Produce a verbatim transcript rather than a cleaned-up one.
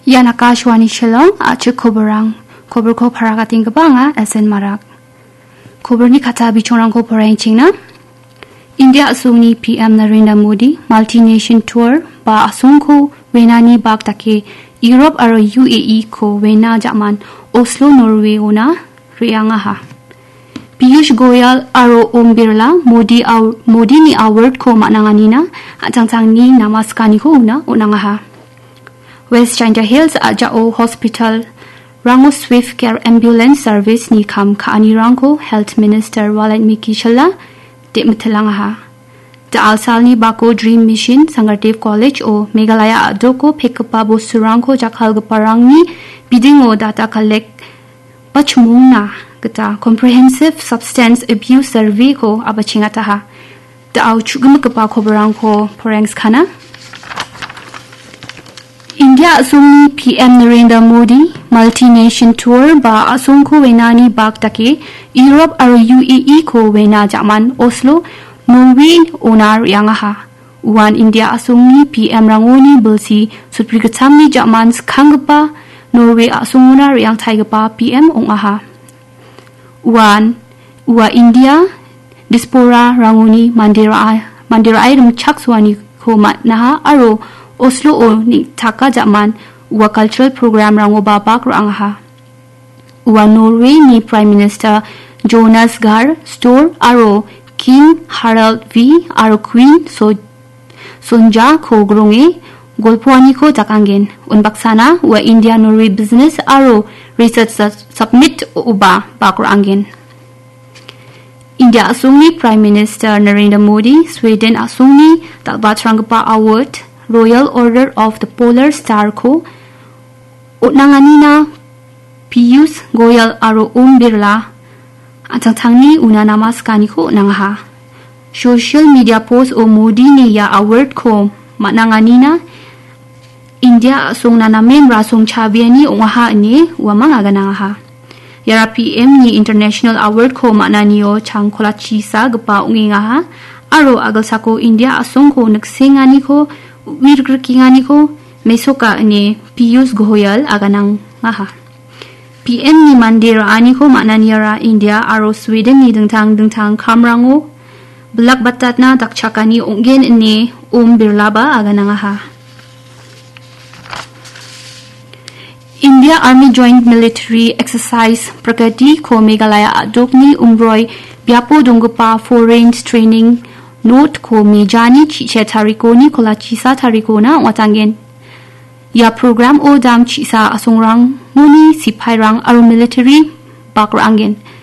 Ian Akashvani Shillong, a·chik koborang. Koborko paragatengipa anga S N Marak. Koborni kata bichongrangko poraienchengna. India a·songni P M Narendra Modi multi-nation tour ba a·songko wenani bak dake Europe aro U A E ko wena ja·man Oslo, Norway-ona re·angaha. Piyush Goyal aro Om Birla Modi aw-, Modini award-ko man·anganina an·tangtangni namaskaniko una on·angaha. West Jaintia Hills a·jao hospital-rango Swift Care Ambulance Service-ni kam ka·anirangko Health Minister Walan Miki Shylla de·mitilangaha. Da·alsalni bako Dream Mission Sangadev College-o Meghalaya a·doko pekgipa bosturangko jakkalgiparangni bidingo data collect ba chimongna gita Comprehensive Substance Abuse Survey-ko abachengataha. Da·o chu·gimikgipa koborangko poraienskana. India a·songni P M Narendra Modi multi-nation tour ba a·songko wenani bak dake Europe aro U A E ko wena ja·man Oslo, Norway-ona re·angaha. Uan India a·songni P M-rangoni bilsi sutbrigittamni ja·man skanggipa Norway a·songona re·angtaigipa P M ong·aha. Uan ua India diaspora-rangoni mande ra-, mande ra·e rimchaksoaniko man·aha aro Oslo-o neng·taka ja·man ua cultural program-rangoba bak ra·angaha. Ua Norway-ni Prime Minister Jonas Gahr Store aro King Harald V aro Queen So-, Sonja-ko gronge golpoaniko dakangen. Unbaksana ua India Norway Business aro Research Su-, Summit-oba bak ra·angen. India a·songni Prime Minister Narendra Modi Sweden a·songni dal·batranggipa award Royal Order of the Polar Star-ko on·anganina Piyush Goyal aro Om Birla an·tangtangni una namaskaniko on·angaha. Social media post-o Modini ia award-ko man·anganina India a·songna namen rasong chabiani ong·aha ine uamang aganangaha. Iara P M-ni International Award-ko man·anio changkolachisagipa ong·engaha aro a·gilsako India a·songko niksenganiko, uirgrikenganiko mesoka ine Piyush Goyal aganangaha. P M-ni mande ra·aniko man·aniara India aro Sweden-ni dingtang dingtang kamrango bilakbatatna dakchakani ong·gen ine Om Birlaba aganangaha. India Army Joint Military Exercise Prakriti-ko Meghalaya a·dokni Umroi biapo donggipa Foreign Training Node-ko mejani chi-, se tarikoni kolachisa tarikona ong·atangen. Ia program-o dam chi·sa a·songrangoni sipairang aro military bak ra·angen.